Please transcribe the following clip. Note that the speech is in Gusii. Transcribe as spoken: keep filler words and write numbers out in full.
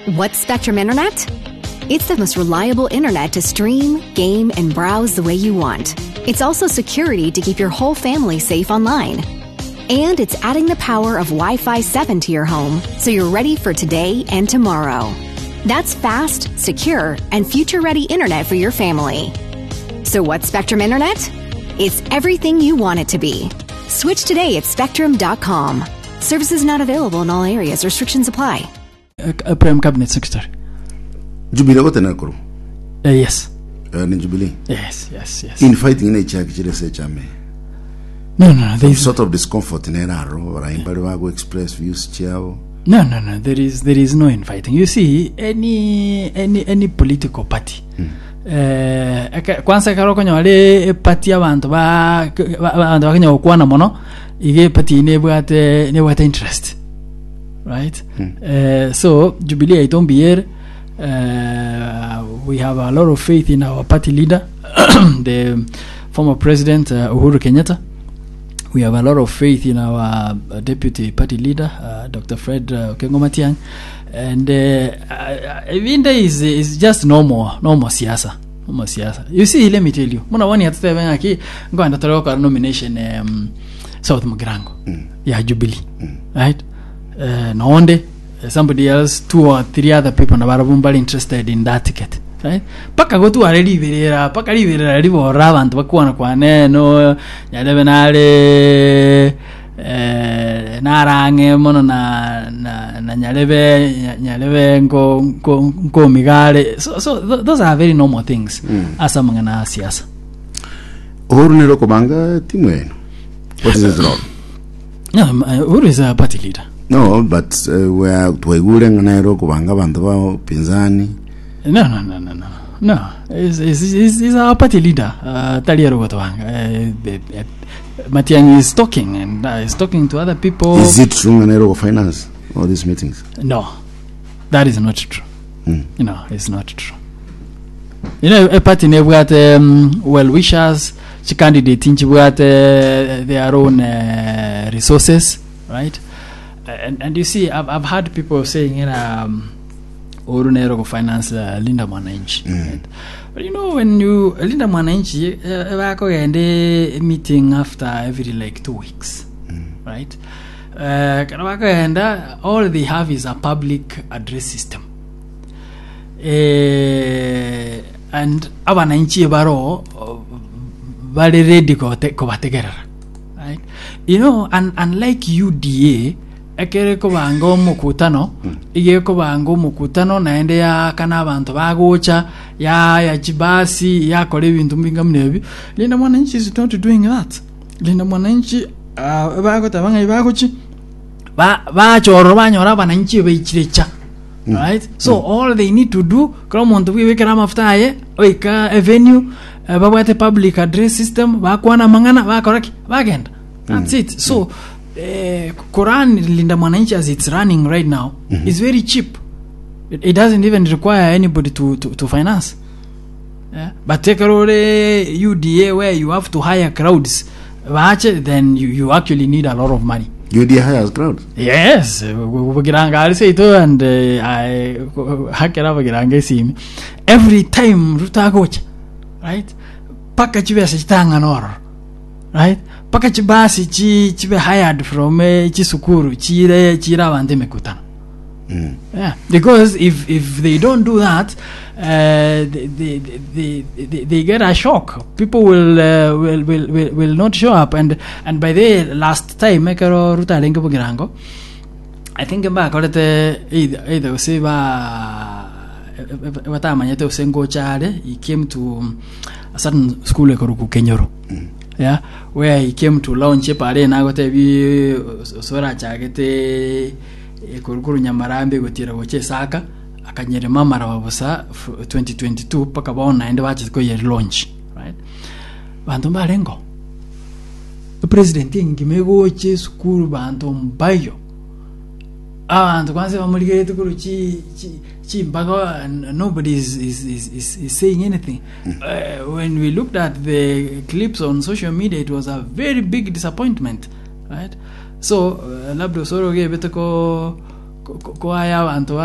What's Spectrum Internet? It's the most reliable internet to stream, game, and browse the way you want. It's also security to keep your whole family safe online. And it's adding the power of Wi Fi seven to your home so you're ready for today and tomorrow. That's fast, secure, and future ready internet for your family. So, what's Spectrum Internet? It's everything you want it to be. Switch today at spectrum dot com. Services not available in all areas. Restrictions apply. uh, Prime Cabinet Secretary. Jubilee gotena koro. Uh, yes. Eh, ni Jubilee. Yes, yes, yes. Infighting ne chaki chire se chame. No, no, no. There is Sort of discomfort neraro baraimba bago express views chiao. no, no, no. There is there is no infighting. You see, any any any political party. Eh, eke- kwanza ekero okonyora eparty abantu ba ba- abantu bakenya gokwana mono iga eparty nebwate nebwate interest, right? uh, so Jubilee yaito mbiyere. uh, we have a lot of faith in our party leader, the former President uh, Uhuru Kenyatta. We have a lot of faith in our uh, deputy party leader, uh, Doctor Fred uh, Okengo Matiang'i, and uh, uh, Ibinde is is just normal normal siasa, normal siasa. You see, let me tell you, muna wani atutebe ng'aki ngwanda tore gokora nomination um, South Mugirango ya Jubilee, right? uh, nonde uh, somebody else, two or three other people nabarabwo mbari interested in that ticket, right? Paka gotware riberera, paka riberera riborora abantu bakwana kwane no nyarebe nare eh, narang'e mono na, na, na nyarebe nya- nyarebe nko nko nkomigare. so, so th those are very normal things mm. ase amang'ana a siasa. Uhuru nero kobanga timu yenu. What is his role? No, um, uh, Uhuru is a party leader. No, but uh, where twaigure ng'ana kubanga abantu ba upinzani. No, no, no, no, no. No, he's, he's, he's, he's our party leader. Uh, Talia Rugotowanga. Uh, uh, Matiang'i is talking and uh, is talking to other people. Is it true ng'ana go finance all these meetings? No, that is not true. Mm. No, it's not true. You know, a party nebwate um, well wishers, chi candidate nchibwate their own uh, resources, right? And, and you see, I've, I've had people saying, you know, um, Uhuru nero go finance uh, Linda Mwananchi. Right? But you know, when you Linda Mwananchi, uh, bakogende meeting after every like two weeks, right? Uh, kana bakogenda, all they have is a public address system. Eh, and abananchi baro bari ready kote- kobategerera, right? You know, and unlike U D A, ekere kobanga omokutano, ige kobanga omokutano naende yakana abantu bagocha yaya chibasi yakora ebintu mbinga muna ebio. Linda Mwananchi is not doing that. Linda Mwananchi uh, bagotaba ng'ai bagochi ba bachorora banyora abananchi baichirecha, right? So all they need to do, kora omonto bwibekera amafuta aye oika avenue, uh, babwate public address system, bakwana amang'ana, bakora ki, bagenda. That's it. So eh, Quran Linda Mwananchi as it's running right now is very cheap. it, it doesn't even require anybody to, to, to finance, yeah? But take ore U D A, where you have to hire crowds bache, then you, you actually need a lot of money. U D A hires crowd? Yes, bugiranga ari seito and uh, I hakera bugiranga esimi every time rutagocha, right? Paka chibesa chitang'ana ororo, right? Paka chibasi chi chibe hired from eh, chisukuru chire chire abantu emikutano. Yeah, because if if they don't do that, uh, they, they, they, they, they get a shock. People will, uh, will, will, will, will not show up. And and by the last time, ekero Ruto arenge Bogirango, I think mbakorete either either gose ba batamanyete gose ngocha are, he came to a certain school ekoruku Kenyoro. Yeah, where he came to launch pare nagotebi sorachagete ekurukuru Nyamarambe gotira goche Saka akanyerema amaraba busa twenty twenty-two paka bono naende bachete koye launch, right? Bantu mbarengo president engima egoche esukuru, bantu mbayo, abantu kwanza bamurigerete kuru chi chi chimbaga, nobody is, is, is, is, is saying anything. uh, when we looked at the clips on social media, it was a very big disappointment, right? So uh, labda osoro gebete ko ko- ko aya abantu ba